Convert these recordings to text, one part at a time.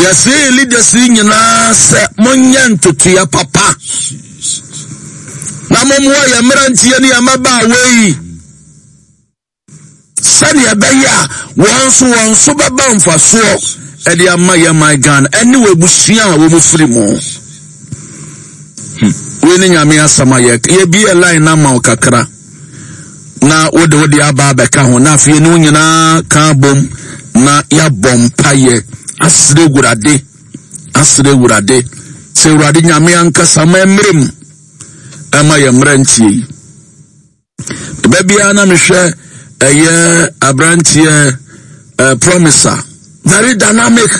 Yɛsee leaders yi nyinaa sɛ monyɛ ntotoeɛ papa na mommoa yɛn mmeranteɛ ne yɛn mmabaawa yi sɛdeɛ ɛbɛyɛ a wɔn nso wɔn so bɛba mfasoɔ ɛde ama yɛn man Ghana ɛne wɔ abusua a wɔn firi mu. Hmm. Wei ne Nyame asɛm a yɛka. Yɛbie line no ama wo kakra. na wode wode aba abɛka ho na afei ne wo nyinaa ka bom na yɛabɔ mpayɛ asrɛ Awurade asrɛ Awurade sɛ Awurade Nyame ankasa ma mmerɛ mu ɛma yɛ mmeranteɛ yi ɛbɛ biara na mehwɛ ɛyɛ aberanteɛ uh, promiser very dynamic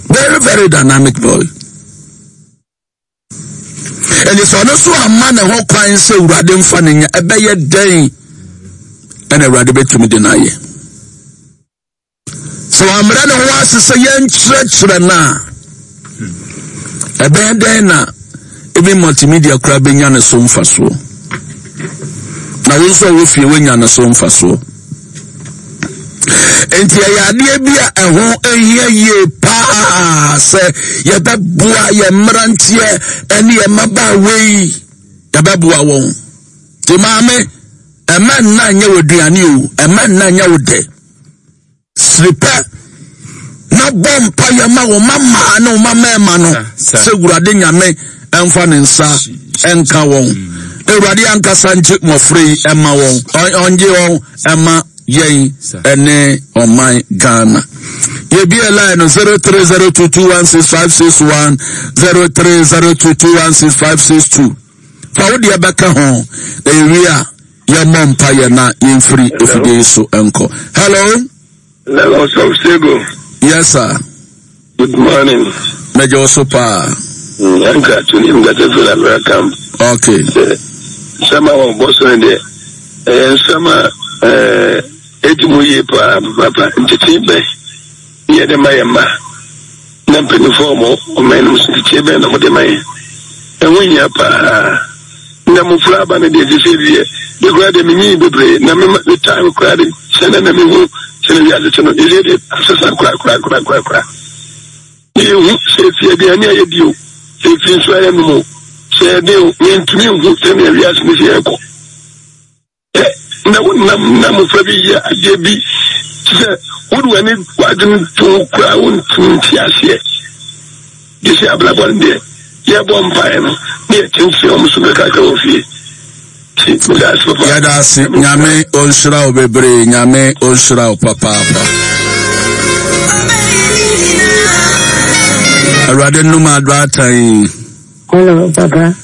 very very dynamic boy Ɛnti sɛ ɔno nso amma ne ho kwan sɛ Awurade mfa no nya, ɛbɛyɛ dɛn ɛna Awurade bɛtumi de no ayɛ? Sɛ wammrɛ ne ho ase sɛ yɛnkyerɛkyerɛ no a, ɛbɛyɛ dɛn na even multimedia koraa bɛnya ne so mfasoɔ? Na wo nso a wɔ fie woanya ne so mfasoɔ. Nti ɛyɛ adeɛ bi a ɛho hia yie paa sɛ yɛbɛboa yɛn mmeranteɛ ne yɛn mmabaawa yi yɛbɛboa wɔn. Nti maame, ɛmɛ nna nyɛ wɔ aduane o, ɛmɛ nna nyɛ wo dɛ. Siri pɛ na bɔ mpa yɛ ma wo ma mmaa ne wo ma mmarima no sɛ Awurade Nyame ɛmfa ne nsa ɛnka wɔn. Awurade ankasa ngye mmɔfra yi ɛma wɔn, ɔngye wɔn ɛma yɛn ɛne ɔman Ghana. Yɛbie line no 0302216561 0302216562. Fa wo deɛ bɛka ho na yɛwie a yɛmmɔ mpa yɛ na yɛmfiri efidie yi so nkɔ. Hello. Hello, Sɔfsego. Yes, sir. Good morning. Mɛgye wo so paa. Ɛnka tuni nkata firi Lamira camp. Okay. Sɛ nsɛm a wɔbɔ so no deɛ ɛyɛ nsɛm a ɛɛ edi mu yie paa papa ntetee bɛn ne yɛde ma yɛn mma na mpanyinfoɔ a wɔn ɔman no mu so ntetee bɛn na wɔde ma yɛn ɛho hia paa. Na mmofra aba no deɛ sese deɛ me koraa deɛ menyii bebree na me me time koraa de sɛ na na mehu sɛ na wiase te no sese deɛ asesa koraa koraa koraa koraa koraa ne yɛhu sɛ efi aduane a yɛdi o sɛ efi nso a yɛnom o sɛ yɛde o mentumi nhu sɛnea wiase no sɛ yɛkɔ Ɛ, na wonam na mmofra bi yɛ adeɛ bi te sɛ wode w'ani w'adwene to ho koraa wontumi nte aseɛ. Gye sɛ abrabɔ no deɛ yɛbɔ mpaeɛ no na yɛkyerɛkyerɛ wɔn so kakrakra wɔ fie. Nti meda ase papa. Yɛda ase. Nyame ɔnhyira wo bebree. Nyame ɔnhyira wo papaapa. Awurade nnum adoatan yi. Hello, Papa.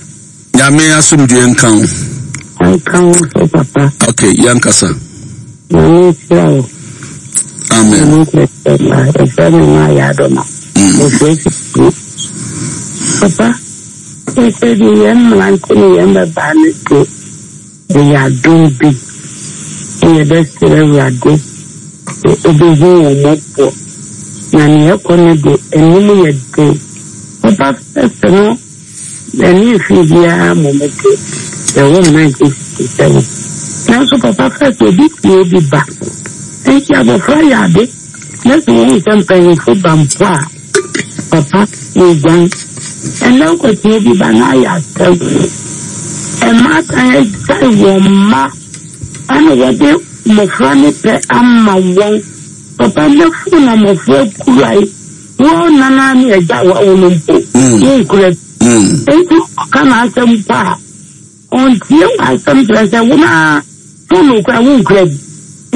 Nyame asomdue nka wo. Nka wo so, Papa. Okay, yɛn kasa. Nyame nhyira wo. Amen. Nyame nkyerɛkyerɛ ma ɛfrɛ me ma yɛ adɔma. Ɛfrɛ si Papa, ɛsɛ de yɛn mmerante ne yɛn mmabaa no de ɛyɛ adom bi. Sɛ yɛbɛsrɛ Awurade sɛ ɔbɛhu wɔn mmɔbɔ. Na nea ɛkɔ no de, anim yɛ den. Papa fɛfɛ no n'ani mfii biara mmom de, yɛwoo no 1967. Nanso papa fɛfɛ obi tie obi ba. Enti abɔfra yɛ ade na sɛ ohu sɛ mpanyimfo ba mpo a, papa woguan. Ɛnnɛ wokɔtie obi ba na ayɛ asɛm. Mmaatan agyae wɔn mma ɛna wɔde mmɔfra no pɛ ama wɔn. Papa nnɛ fon na mmɔfra kura yi. Wo nana ne agya a wawo no mpo, wonkura bi. Enti ɔka n'asɛm mpo a, ɔntie w'asɛm kyerɛ sɛ wo na fon okura wonkura bi.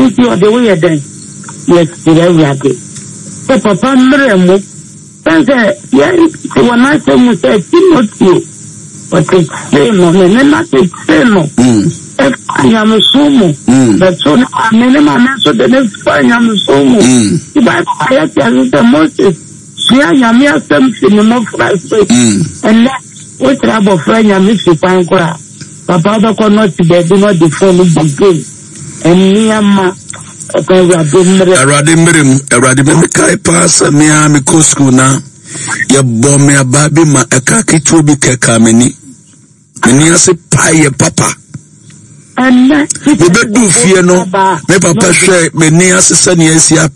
Enti ɔde wo yɛ dɛn? Yɛsrɛ Awurade sɛ papa mmerɛ mo. Sɛn sɛ yɛte wɔ n'asɛm mu sɛ Timoteo ɔtetee no, ne nena tetee no ɛfa nyamesom mu. Bɛto ne maame, ne maame nso de ne fa nyamesom mu. Ti Bible ma yɛte ase sɛ Moses sua nyame asɛm fi ne mmɔfra ase. Ɛnnɛ wokyerɛ abɔfra nyame fi kwan koraa, papa wobɛkɔ no ɔte baabi na ɔde fon no bɔ game. Nneɛma papa Awurade mmerɛ. Awurade mmerɛ mu, Awurade mmerɛ. Mekae paa sɛ me ara mekɔ sukuu na yɛbɔ me abaa bi ma ɛka ketewa bi kɛkaa m'ani. M'ani ase paeɛ papa. Mebɛduu fie no, me papa hwɛ m'ani ase sɛnea asi apɛ.